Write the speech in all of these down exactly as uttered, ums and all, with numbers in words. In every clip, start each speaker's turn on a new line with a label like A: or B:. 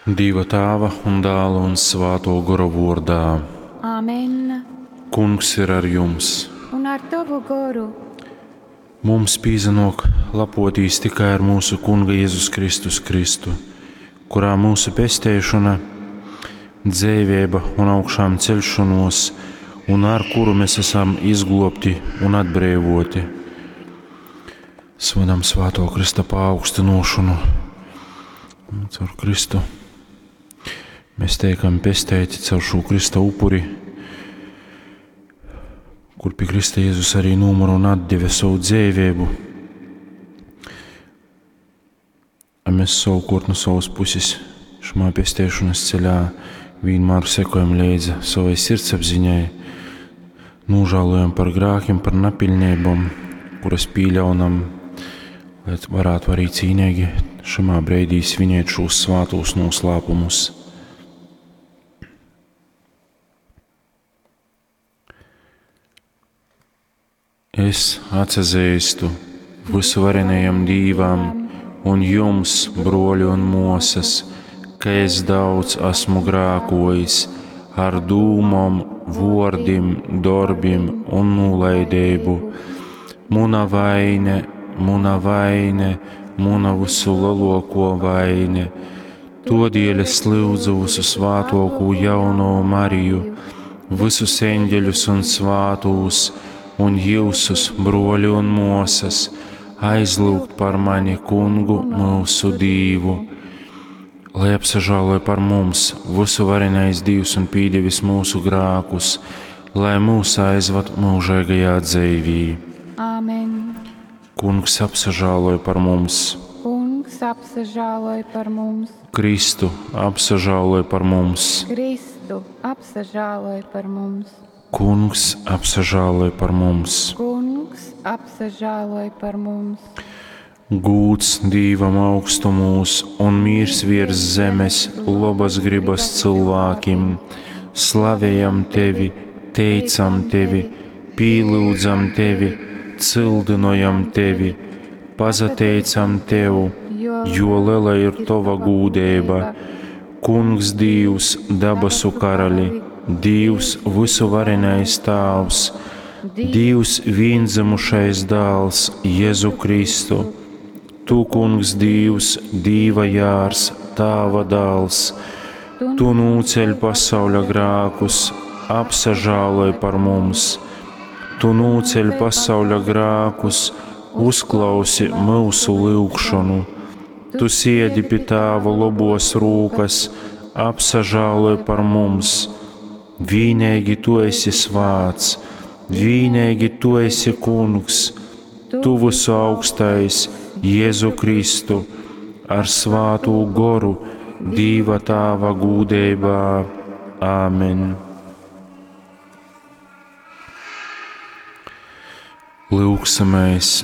A: Dīva Tāva un Dāla un Svātō Gora vōrdā.
B: Amen.
A: Kungs ir ar jums.
B: Un ar tovu goru.
A: Mums pīsanōk lapotīs tikai ar mūsu Kunga Jēzus Kristus Kristu, kurā mūsu pesteišona, dzeiveiba un augšām ceļšanos, un ar kuru mēs esam izglobti un atbreivoti. Svinam Svāto Krista paaugstinošanu caur Kristu. Mēs teikam pesteiti caur šo Krista upuri, kur pie Krista Jēzus arī nomira un atdeva savu dzīvību. A mēs savukārt no savas puses šajā pesteišanas ceļā vienmēr sekojam līdzi savai sirdsapziņai, nožēlojam par grēkiem, par nepilnībām, kuras pieļaunam, lai varētu arī cīnīgi šajā brīdī svinēt šos svātos noslēpumus. Es atsazīstu visuvarenajam Dīvam un jums, broļi un mosas, ka es daudz esmu grākojis ar dūmom, vordim, darbim un nolaidību. Muna vaine, muna vaine, muna visu lielāko vaine. Todēļ es lūdzu visu svātoko jauno Mariju, visus eņģeļus un svātūs, un jūsus, broļi un mosas, aizlūgt par mani Kungu mūsu Dīvu. Lai apsažāloja par mums visu varenais Dīvs un pīdevis mūsu grākus, lai mūs aizvad mūžīgajā dzīvī.
B: Āmen.
A: Kungs apsažāloja par mums.
B: Kungs apsažāloja par mums.
A: Kristu apsažāloja par mums.
B: Kristu apsažāloja par mums.
A: Kungs apsažāloja par mums.
B: Kungs apsažāloja par mums.
A: Gūts Dīvam augstumūs un mīrs virs zemes, labas gribas cilvēkim. Slavējam tevi, teicam tevi, pīlūdzam tevi, cildinojam tevi, pazateicam tev, jo liela ir tova gūdība. Kungs Dīvs, dabasu karali, Dīvs visuvarenais Tāvs, Dīvs viendzimušais dāls Jēzu Kristu. Tu, Kungs Dīvs, Dīva jārs, Tāva dāls, Tu nūceļ pasauļa grākus, apsažāloj par mums. Tu nūceļ pasauļa grākus, uzklausi mūsu lūgšanu. Tu siedi pie Tāva lobos rūkas, apsažāloj par mums. Vīnīgi Tu esi svāts, vīnīgi Tu esi Kungs, Tu visu augstais, Jēzu Kristu, ar svātū goru, Dīva Tāva gūdībā. Āmen. Lūgsimies!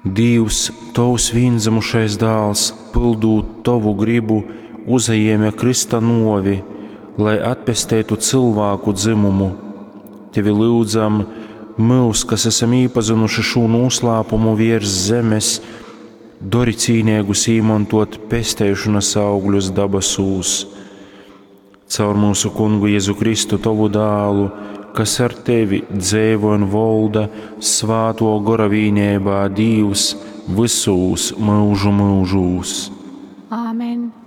A: Dīvs, Tavs viendzimušais dāls, pildūt Tavu gribu, uzajēma Krista novi, lai atpestētu cilvēku dzimumu. Tevi lūdzam, mūs, kas esam iepazinuši šo noslēpumu virs zemes, dori cīnīgus īmantot pesteišanas augļus dabasūs. Caur mūsu Kungu Jēzu Kristu, Tavu dālu, kas ar Tevi dzēvo un volda svāto gora vīnībā Dīvs visūs mūžu mūžūs.
B: Āmen.